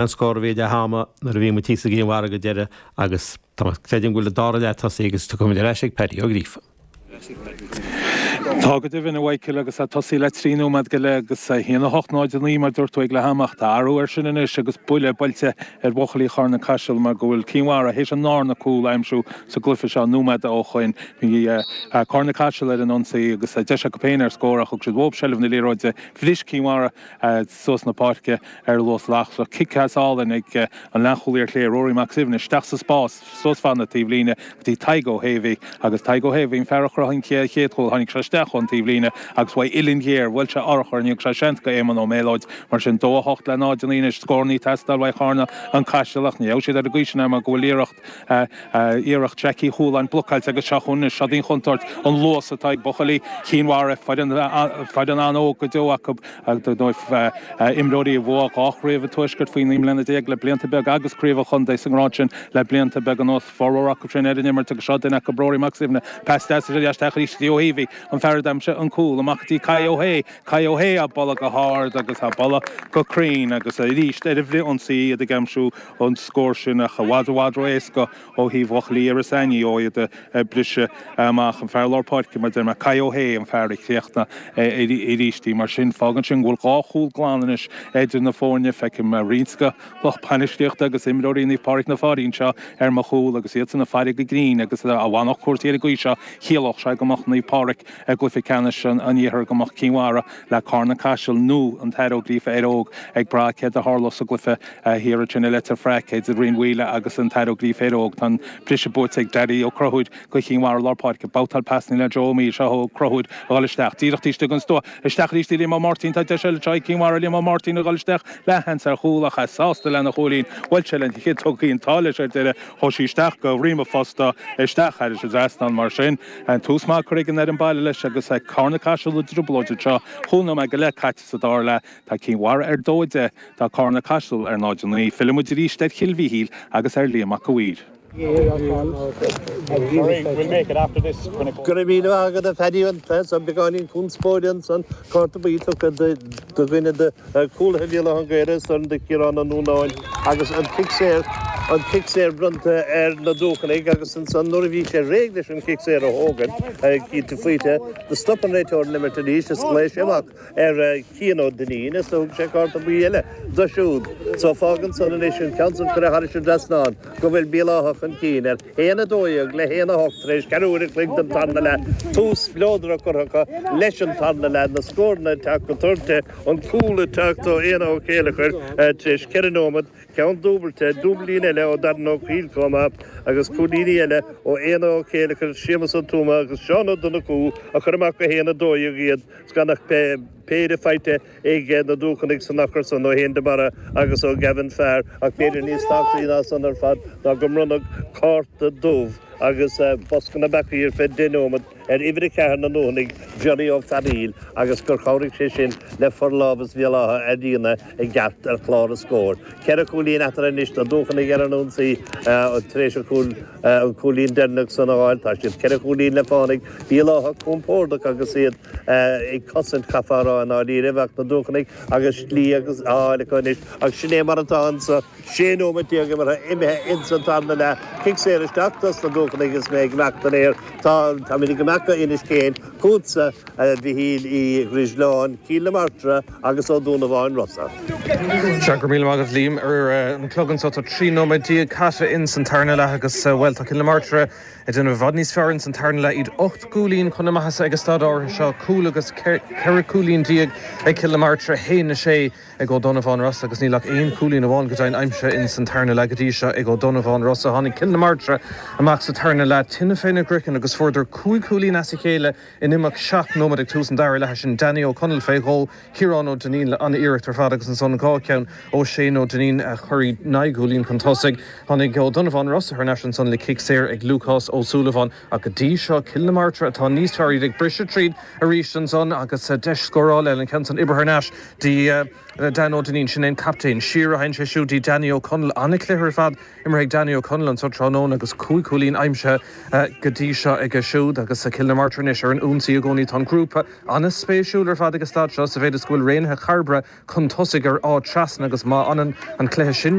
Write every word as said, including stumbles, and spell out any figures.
An scór a bhí ag leath ama nuair a bhí muid thíos i gCill Mhara go deireadh agus tá creidim go bhfuil an dara leath tosaithe agus tiocfaimid ar ais ag Paddy Ó Gríofa. Tá go deimhin a Mhichael agus tá tosaí le trí nóiméad go leith agus a haon a hocht náid a naoi mar dúirt tú ag leath ama ach tá athrú air sin anois agus buille buailte ar bhuachaillí Charna Caiseal mar go bhfuil Cinn Mhara théis an darna cúl a aimsiú sa gcluiche seo nóiméad ó shin bhí Carna Caiseal ar an ionsaí agus deis acu féin ar scór ach thug siad uathu seilbh na liathróide bhris Cinn Mhara suas na páirce ar luas lasrach cic as álainn ag an leathchúlaí ar chlé Rory Mac Suibhne isteach sa spás suas fan na taobhlíne go dtí Tadhg Ó hÉimhí agus Tadhg Ó hÉimhí an fear a chruthaigh an chéad chúl tháinig sé isteach ón taobhlíne agus uaidh uillinn ghéar bhuail sé urchar ní sé seans go Éamonn Ó Méalóid mar sin dó a hocht le náid a naoi anois scór ag teastáil uaidh Charna an Caiseal ach ní siad ar an gcaoi sin mar go bhfuil iarracht iarracht Jackie Chualáin blocáilte agus seo chugainn seo an chontúirt an luas atá ag buachaillí Chinn Mhara foireann an-óg go deo acu dóibh imreoirí a bhuaigh dhá chraobh an tuaiscirt faoi naoi mbliana déag le blianta beaga agus craobh an chontae sa ngrád sin le blianta beaga anuas formhór acu sin ar an imirt agus seo duine acu Rory Mac Suibhne pas deas isteach arís Ó hÉimhí an fear a d'aimsigh an cúl amach dtí Kai Ó hÉ Kai Ó hÉ á bualadh go hard agus á bualadh go cruinn agus arís ar an bhfrithionsaí iad ag aimsiú an scór sin ach i bhfad i bhfad ró-éasca ó thaobh bhuachaillí Iorras Aithneach ó iad briseadh amach an fear lár páirce mar deir mé Kai Ó hÉ an fear a chríochnaigh arís í mar sin fágann sin go bhfuil dhá chúl glan anois idir na foirne feicim roinnt de lucht bainistíochta agus imreoirí Naomh Pádraig na Fáirí anseo ar mo chúl agus iad san ag faire go grinn agus a bhanach cúrsaí ar an gcaoi seo chiallódh sé go mbeadh Naomh Pádraig i gcluiche ceannais an iarthair go mbeadh Cinn Mhara le Carna Caiseal nó an tAire Ó Gríofa Éire Óg ag brath céard a tharlódh sa gcluiche thiar ansin i Leitir Fraic idir Rinn Mhaoile agus an tAire Ó Gríofa Éire Óg tá an briseadh buaite ag Daddy Ó Conchúir go Cinn Mhara lár páirce babhtáil pasanna le Joe O'Meal seo Ó Conchúir a dhul isteach díreach istigh an stua isteach arís Liam Ó Máirtín tá deis eile ag Cinn Mhara Liam Ó Máirtín a dhul isteach le seans ar chúl ach sásta lena chúilín bhuail sé lena chiotóg tá leis ar deireadh chuaigh sí isteach go rima fosta isteach thar an trasnán mar sin an tús maith curtha ag an ar an baile leis agus Carna Caiseal i dtrioblóid seo chúig nóiméad go leith caite sa dara leath tá Cinn Mhara ar dó deich tá Carna Caiseal ar náid a naoi Fillfimid arís ar Chill Mhichíl agus ar Liam Mac Uidhir. Go raibh míle agat a Phaddy an beagáinín conspóide ansan cárta buí tugtha do dhuine de chúlaithe Bhéal Átha an Ghaorthaidh san do Chiarán Ó Núnáin agus an cic saor an cic saor bronnta ar na Dúchanaigh agus ansan nuair a bhí sé réidh leis an cic saor a thógáil cinnte faoite do stop an réiteoir an imirt arís is ghlaoigh sé amach ar Cian Ó Duinnín is thug sé cárta buí eile do siúd. So fágann san anois an ceann san curtha thar an trasnán go bhfuil Béal Átha chun cinn ar haon a dó dhéag le haon a hocht tar éis ceathrú uair an chloig den tarna leath tús spleodrach curtha leis an tarna leath na scóranna teacht go toirte an cúl ag teacht ó Éanna Ó Céileachair tar éis ceithre nóiméad ceann dúbailte dúblín eile ó Darren Ó Cuíl coma agus cúilíní eile ó Éanna Ó Céileachair Séamus Ó Tuama agus Seán Ó Donnchú a chur amach go haon a dó dhéag iad gan ach péire faighte ag na Dúchanaigh san achar san ó Shéan de Barra agus ó Gavin Fear ach b'fhéidir níos tábhachtaí ná san ar fad ná go mbronnadh cárta dubh agus bosca na bpeacaí ar feadh deich nóiméad ar uimhir a ceathair na nDúchanaigh Johnny Ó Fearaíl agus gur chabhraigh sé sin le forlámhas Bhéal Átha a rianadh i gceart ar chlár an scóir. Ceithre chúilín eatarthu anois na Dúchanaigh ar an ionsaí tar éis an cúl an cúilín deireanach san a fháil tá siad ceithre chúilín le fánaigh Béal Átha compordach agus iad ag cosaint chaithfeá a rá i ndáiríre bheadh na Dúchanaigh agus slí agus áil acu anois ach sin é mar atá anso sé nóiméad déag imeartha imithe ins an tarna leath cic saor isteach dos na Dúchanaigh is mé ag imeacht an aer tá tá mé ag imeacht go Inis Céin chugatsa a Mhichíl Uí Dhrisleáin Cill na Martra agus Ó Dúnabháin Rosa. Se go míle maith agat Liam ar an chlog anseo tá trí nóiméad déag caite in san tarna leath agus well tá Cill na Martra ag déanamh i bhfad níos fearr in san tarna leath iad ocht gcúilín chun na maitheasa ag an staid áirithe seo cúl agus ceithre cúilín déag ag Cill na Martra haon a sé ag Ó Donnabháin Rosa agus níl ach aon chúilín amháin go deimhin aimsithe in san tarna leath go dtí seo ag Ó Donnabháin Rosa tháinig Cill na Martra amach sa tarna leath tine féna gcraiceann agus fuaireadar cúig chúilín as a chéile in imeacht seacht nóiméad ag tús an dara leath sin Danny Ó Conaill fé dhó Ciarán Ó Duinnín le an-iarracht ar fad agus ansan dhá cheann ó Shane Ó Duinnín a chuir naoi gcúilín chun tosaigh tháinig Ó Donnabháin Rosa thar n-ais ansan le cic saor ag Lucas Ó Súilleabháin ach go dtí seo Cill na Martra atá níos fearr ag briseadh tríd arís ansan agus deis scórála an ceann san oibrithe thar n-ais dtí le Dan Ó Duinnín sin an captaen siar a théann sé siúd dtí Danny O'Connell an-chluiche ar fad imeartha ag Danny O'Connell anseo tráthnóna agus cúig chúilín aimsithe go dtí seo aige siúd agus Cill na Martra anois ar an ionsaí i gcónaí tá an grúpa an-spéisiúil ar fad ag an staid seo sa mhéid is go bhfuil Raonaithe Chairbre chun tosaigh ar Áth Trasna agus má fhanann an cluiche sin